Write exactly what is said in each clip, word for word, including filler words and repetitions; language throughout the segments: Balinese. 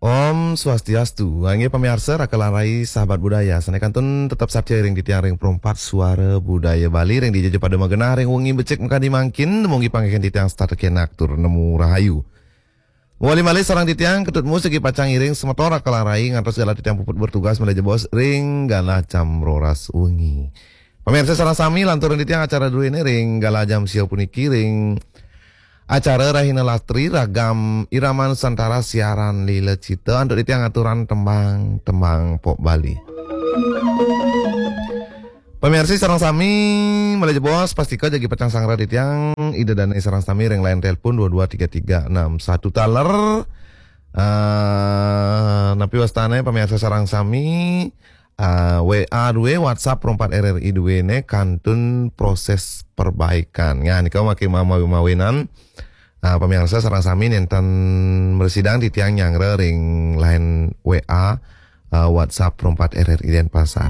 Om Swastiastu. Inggih pamiarsa, raka lan rai sahabat budaya. Sané kantun tetep satya ring titiang ring Pro empat Suara Budaya Bali ring dija pada magenah ring wengi becik makadi mangkin, dumugi panggihin titiang setata kenak tur nemu rahayu. Mawali malih sareng titiang Ketut Mus jagi pacang ngiring semeton raka lan rai ngantos galah titiang puput bertugas malih jebos ring galah jam roras wengi. Pamiarsa sareng sami, lanturang titiang acara druéné ring galah jam sia puniki ring acara Rahina Lastri, ragam Irama Nusantara, siaran Lila Cita, antuk titiang aturang tembang-tembang pop Bali. Pamiarsa sareng sami, malih jebos pastika jagi pacang sangra titiang, Ida Dané sareng sami ring line telepon dua dua tiga tiga enam satu taler. Ah, napi wastané pamiarsa sareng sami, ah, W A dua, WhatsApp Pro empat R R I dua né kantun proses perbaikan. Ya, nika makin mawi-mawinan. Ah, pamiarsa sareng sami nénten mrasidang titiang nyanggra ring line W A, ah, WhatsApp Pro empat R R I Denpasar.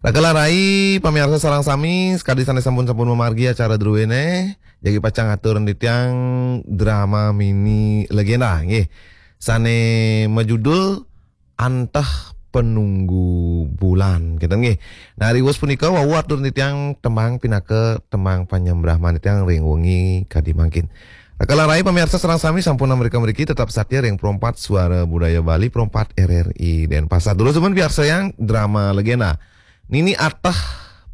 Raka lan rai, pamiarsa sareng sami, sakadi sané sampun-sampun mamargi acara druéné, jagi pacang atur titiang drama mini legenda, nggih. Sané majudul Antah Penunggu Bulan, kénten nggih. Nah, riwus punika wau atur titiang tembang pinaka tembang panyembrahman titiang ring wengi kadi mangkin. Raka lan rai pamiarsa sareng sami sampun amrika mriki tetep satya ring Pro empat Suara Budaya Bali, Pro empat R R I Denpasar. Durus suman piarsayang drama legenda Nini Antah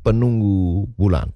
Penunggu Bulan.